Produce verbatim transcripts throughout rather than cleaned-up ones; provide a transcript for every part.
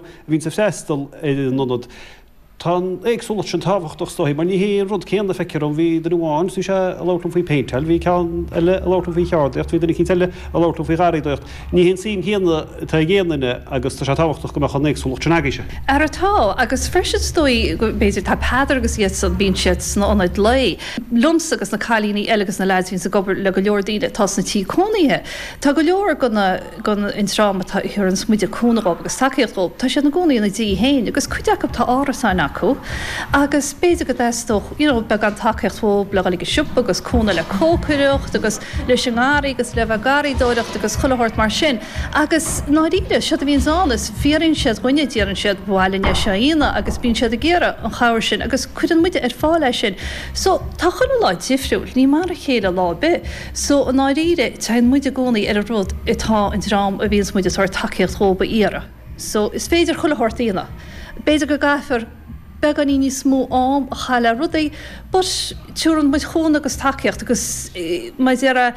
a bhíonn ag freastal ar an ionad. Tá an éagsúlacht sin tábhachtach is dóigh, mar ní hé an rud céanna feictear dom, bhí duine amháin, bhí sé ag labhairt liom faoi phéinteáil, bhí ceann eile ag labhairt liom faoi cheardaíocht, bhí duine eicínt eile ag labhairt liom faoi gharraíodóireacht. Ní hé an tsuim chéanna atá ag aon duine agus tá sé tábhachtach go mbeadh an éagsúlacht sin agaibhse. Ara tá, agus freisin is dóigh go mb'fhéidir tá Peadar agus iadsan, bíonn siad sna ionaid lae. Liomsa agus na cailíní eile agus na leaids a bhíonns ag obair le go leor daoine atá sna tithe cónaithe, tá go leor de na, den an dream atá a thuaranns muide cúnamh dhóibh agus tacaíocht dhóibh, tá siad ina gcónaí ina dtí féin agus cuid acu tá árasáin acu agus b'fhéidir go dteastódh you know beagán tacaíocht dhóibh le dhul ag an siopa agus cúnamh le cócaireacht agus leis an ngarraí agus le bheith ag garraíodóireacht agus chuile shórt mar sin agus i ndáiríre séard a bhíonns ann is fiafraíonn siad dhúinne, deireann siad ba mhaith linn é seo a dhéanamh agus bíonn siad ag iarraidh an chabhair sin agus cuireann muide ar fáil é sin. So tá chuile lá difriúil, ní mar a chéile lá ar bith. So i ndáiríre téann muid i gcónaí ar an rud atá an dream a bhíonns muid ag tabhairt tacaíocht dhóibh a iarraidh. So is féidir chuile shórt a dhéanamh. B'fhéidir go gcaithfear beagáinín níos mó am a chaitheamh le rudaí but tabharann muid cúnamh agus tacaíocht agus mar a déarfá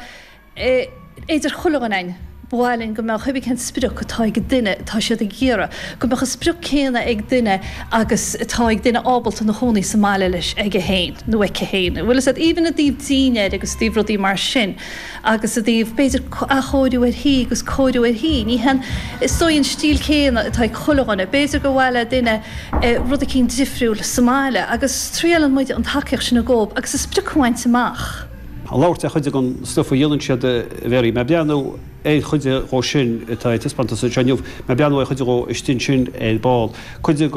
idir chuile dhuine againn ba mhaith linn go mbeadh cibé cén sprioc atá ag duine atá siad ag iarraidh, go mbeadh an sprioc céanna ag duine agus atá ag duine ábalta ina chónaí sa mbaile leis aige féin nó aici féin. Bhfuil fhios agat, even i dtaobh dinnéir agus i dtaobh rudaí mar sin agus i dtaobh b'fhéidir athchóiriú ar thí agus cóiriú ar thí, ní hé an, is dóigh an stíl céanna atá ag chuile dhuine. B'fhéidir gur mhaith le duine rud eicínt difriúil sa mbaile agus triaileann muid an tacaíocht sin a dhóibh agus a sprioc a bhaint amach. Ag labhairt ar chuid den stuif a dhéanann siad, a Mhary, mé ag breathnú ar chuid dhó sin atá ar taispeántas anseo inniu, mé ag breathnú ar chuid dhó istigh ansin ar ball, cuid den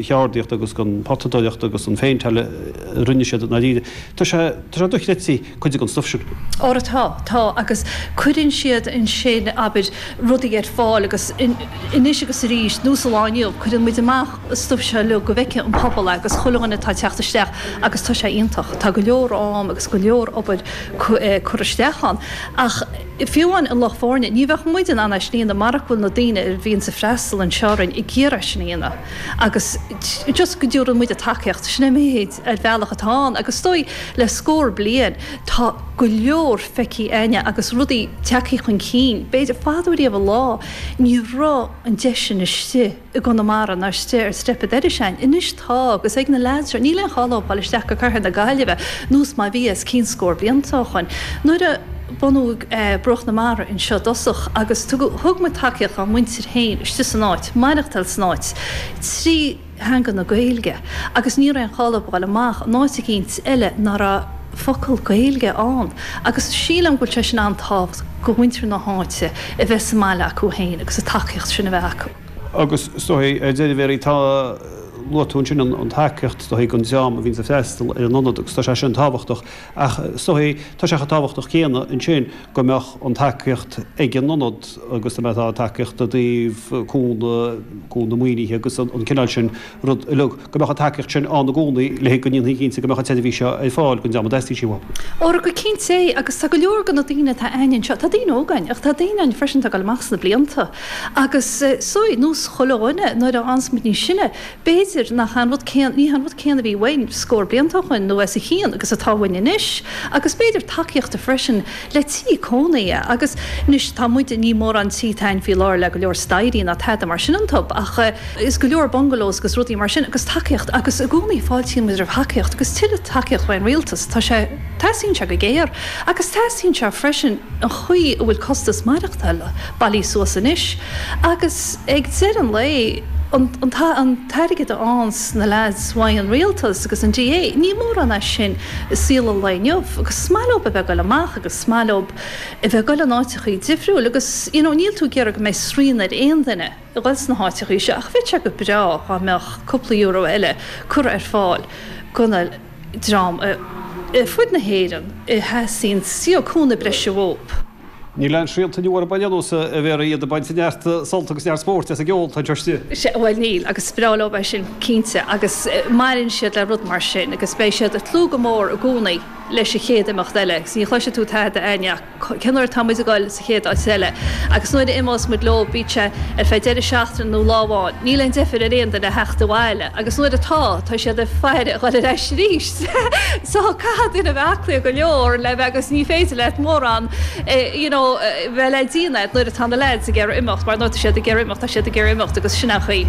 cheardaíocht agus den potadóireacht agus an phéinteáil a rinne siad i ndáiríre. Tá sé, tá sé dochreidte cuid den stuif sin. Óra tá, tá, agus cuireann siad ansin, abair, rudaí ar fáil agus anois agus arís, nós an lá inniu, cuireann muid amach an stuif seo uilig go bhfeicfidh an pobal é agus chuile dhuine atá ag teacht isteach agus tá sé iontach. Tá go leor am agus go leor obair curtha isteach ann. Ach fiú amháin an lucht foirne, ní bheadh muid in ann é sin a dhéanamh marach go bhfuil na daoine a bhíonns ag freastal anseo orainn ag iarraidh sin a dhéanamh. Agus just go dtabharann muid an tacaíocht, sin é an méid ar bhealach atá ann. Agus is dóigh le scór bliain tá go leor feicthe againne agus rudaí tagtha chun cinn. B'fhéidir fadó riamh an lá ní raibh an deis sin istigh. i gConamara ná istigh ar Steip Doire againn. Anois tá, agus ag na leaids seo, níl aon chall leo dul isteach go Cathair na Gaillimhe nós mar bhí os cionn scór blianta ó shoin. Nuair a bunaíodh Bruach na Mara anseo i dtosach agus tugadh, thug muid tacaíocht dá muintir féin istigh san áit, maireachtáil san áit trí theanga na Gaeilge agus ní raibh aon chall leo dul amach in áit eicínt eile ná raibh focal Gaeilge ann agus sílim go bhfuil sé sin an-tábhachtach do mhuintir na háite a bheith sa mbaile acu féin agus an tacaíocht sin a bheith acu. Agus is dóigh, ar deireadh, Mary, tá, luaigh tú ansin an tacaíocht, is dóigh, don dream a bhíonns ag freastal ar an ionad agus tá sé sin tábhachtach ach is dóigh, tá sé chomh tábhachtach céanna ansin go mbeadh an tacaíocht ag an ionad agus dá mbeadh tacaíocht i dtaobh cúnamh, cúnamh maoinithe agus an cineál sin rud uilig, go mbeadh an tacaíocht sin ann i gcónaí le go ndéanfaí cinnte go mbeadh an tseirbhís seo ar fáil don dream a dteastaíonn sí uathu. Óra, go cinnte é agus tá go leor de na daoine atá againn anseo, tá daoine óga againn ach tá daoine againn freisin atá ag dul amach sna blianta. Agus is dóigh, nós chuile dhuine, nuair a fhaigheanns muid níos sine, b'fhéidir nach an rud céanna, ní han rud céanna a bhí uainn scór blianta ó shoin nó os a chionn agus atá uainn anois. Agus b'fhéidir tacaíochta freisin le tí cónaithe. Agus anois tá muid, ní mórán tí atá againn faoi láthair le go leor staighrí ná tada mar sin iontu ach is go leor bungalows agus rudaí mar sin agus tacaíocht agus i gcónaí fáiltíonn muid roimh thacaíocht agus tuilleadh tacaíocht ón rialtas. Tá sé, teastaíonn sé go géar. Agus teastaíonn sé freisin an chaoi a bhfuil costas maireachtála bailithe suas anois agus ag deireadh an lae an an t-airgead a fhaigheanns na leaids uaidh an rialtas agus an D A, ní mórán é sin i saol an lae inniu agus is maith leo a bheith ag goil amach agus is maith leo a bheith ag goil in áiteachaí difriúil agus you know níl tú ag iarraidh go mbeidh srian ar aon duine a ghoil sna háiteachaí seo ach bheadh sé go breá dhá mbeadh cúpla euro eile curtha ar fáil do na dream ar fud na hÉireann a theastaíonn you know cúnamh breise uathu. Níl aon srianta inniu orthu ar aon nós, a Mhary, iad ag baint neart sult agus neart spóirt as an gceol atá anseo istigh. Sea, bhuel níl, agus is breá leo é sin, cinnte, agus maireann siad le rud mar sin agus beidh siad ag tnúth go mór i gcónaí leis an chéad imeacht eile, agus ní chloisfidh tú tada uainn cén uair atá muid ag dul sa chéad áit eile. Agus nuair a imeos muid leo bíonn sé ar feadh deireadh seachtaine nó lá amháin, níl aon deifir ar aon duine theacht abhaile, agus nuair atá, tá siad ag faire a dhul ar ais arís. So caithfidh duine bheith aclaí go leor le bheith agus ní féidir leat mórán you know bheith le déanamh nuair atá na lads ag iarraidh imeacht mar nuair atá siad ag iarraidh imeacht tá siad ag iarraidh imeacht agus sin an chaoi.